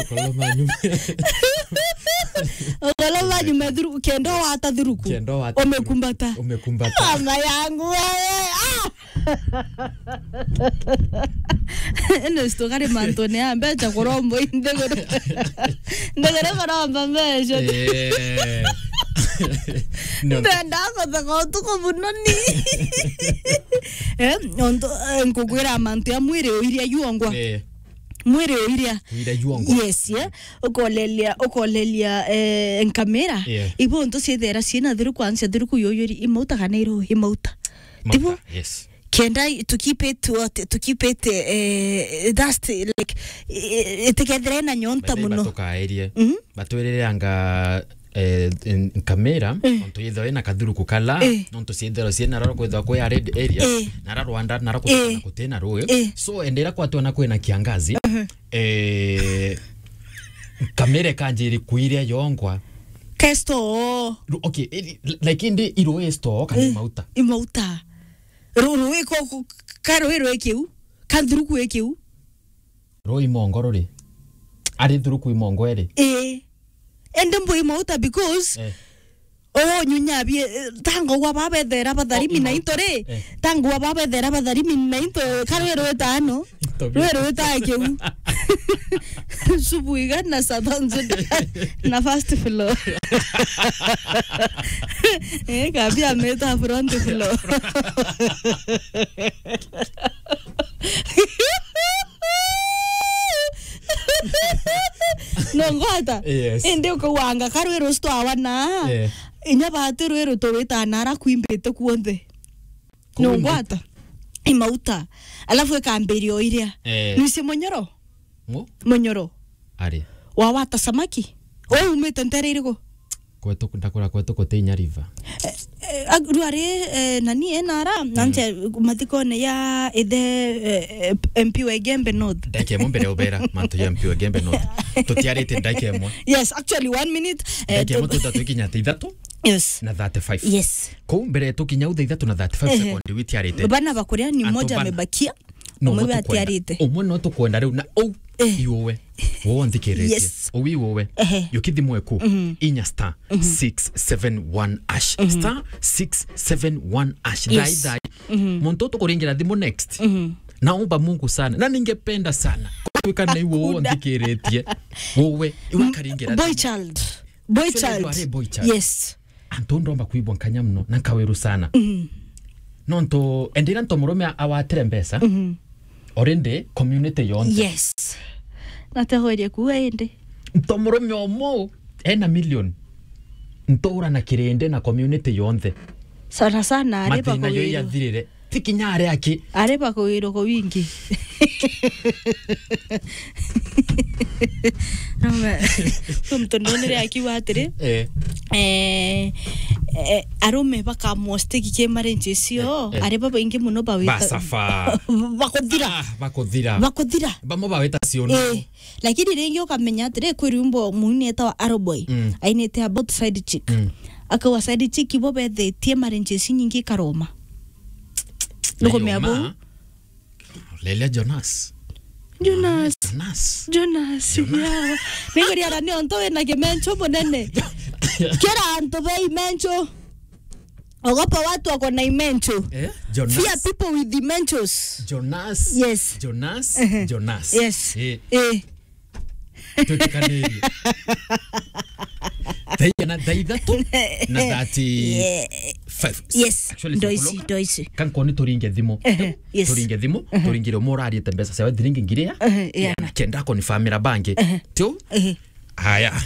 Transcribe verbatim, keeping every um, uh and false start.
Ukolo manyu. Ukolo manyu me thuruku, kenda wata thuruku. Kenda wata thuruku. Umekumbata. Umekumbata. Mama yangu wewe. Ah! Ino story kari mantu ni ya mbeca kurombo indegere. Ndegere kuromba mbeca. Eh. No. Ndenda kutheka utuku muno ni. Eh, onto, eh, nkugwira mantu ya mwiri uiria yuongwa. Eh. Mwiri uiria. Uiria yuongwa. Yes, yeah. Ukolelia, ukolelia, eh, nkamira. Yeah. Ibo ntu ciithera ciina thiru kwanza thiru kuyuyuri imauta kana iru imauta. Mauta, tibo? Yes. Kenda i-, to keep it what, to keep it, eh, dust, like, eh, itikethire na nyonta muno. Batukaerie. Mhm. Batwirire anga, eh, n-, nkamira, eh, ontu yithwa ina kathuruku kala, eh, nontu ciithirwa ciina roro kwithwa kwi a red area, eh, na ra Rwanda, na ra kuthana, eh, kutina rui. Eh. So, endera kwatwa na kwina kiangazi, mhm, eh, nkamira ikanjiri kuiria yongwa. Kesto. Ru-, okay, eh, like, indi iru esto kana, eh, imauta. Imauta. Ru-, rui ko, ko, ka rui rwi kiu, ka nthuruku i kiu. Rui mongo ruri. Ari nthuruku i mongo eri. Ii. Ende mbu imauta because, eh, oo nyunya bie, eh, tango wa babethera batharimi na into ri. Eh. Tango wa babethera batharimi na into, ka rui rwi tano. Into bie. Rui rwi ta kiu. Subu igana sa thonzo na first floor. Eh, kabia meta front floor. No ngwata? Yes. Indi ukauanga karwi rusto awana. Eh. Inya bati rwi ruto wita nara kwimbite kuonthe. No ngwata? Imauta. Alafu ikambiria o iria. Eh. Nisi munyoro? Mu? Munyoro. Ari. Wa wata samaki? Wewe umite ntere iriku? Kwetu, ndakura kwetu kutinya river. Eh, eh, ag-, rwari, eh, nani enara, mm, nanje mathikone ya ithe, eh, eh, M P wa Igembe North. Ndakemo mbere ubera, mantu ya M P wa Igembe North. Tutiarite ndakemo. Yes, actually, one minute, eh, ndakemo tu- tutatwikinya ta ithatu. Yes. Na thirty-five. Yes. Kou mbere tukinya u thaa ithatu na thirty-five, ehe, sekondi witiarite. Bana bakuria ni antu moja bana amebakia. No, umwe no tukwenda, atiarite. Umwe no tukwenda riu na u, eh, iwe. Wo nthikiritie. Yes. U iwe. Ehe. Yukithimwe ku. Mhm. Inya star, mhm, six seven one hash. Mhm. Star six seven one hash. Yes. Thai, thai. Mhm. Muntu tukuringira thimu next. Mhm. Naomba Mungu sana. Na ningependa sana. Kwika na iwe wo nthikiritie. Wowe, iwe karingira thimu. Boy child. Boy child. Actually, you are a boy child. Yes. Antu ndomba kwibwa nkanya muno na nkawiru sana. Mhm. Nontu endira nto murume awatire mbeca, mhm, already community yonthe. Yes. Nategweria kuuga indi. Nto murume omo ena million. Ntura na kirindi na community yonthe. Sana sana, ari mathina jo bakuwirwa. Yathirire. Ti kinya ari aki. Ari bakuwirwa kwa wingi. Ama, tu mtu ndonere akiuga atiri, eh, eh, eh, arume bakamostiki ki marriage icio, eh, eh, ari babaingi muno bawita. Basafa. Bakuthira. Ah, bakuthira. Bakuthira. Bamwe bawita ciono. Eh, lakini ringi ukamenya atiri, kwi rwimbo muini etawa Arrowboy. Mm. Ainite about side chick. Mm. Akauga side chick ibo bethitie marriage ici nyingi ikaroma. Nukumea bu? Lelia Jonas. Jonas. Jonas. Jonas. Jonas. Yeah. Ninguriara ni onto wina kimencho munene. Kira antu bei mencho. Ogopa watu wako na imencho. Eh? Jonas. Fear people with imenchos. Jonas. Yes. Jonas. Ehe. Jonas. Yes. Eh. Eh. Twitikanirie. Thaa inya na thaa ithatu na thirty-five. Yeah. Yes. Actually, ndo ici, ndo ici. Kankoni turinge thimu. Ehe, yes. Turinge thimu, ehe, turingire umwe urariite mbeca ciawe thiringi ngiri ya. Ehe, yeah. Na kenda konifamira bangi. Ehe. Tiu? Ehe. Haya.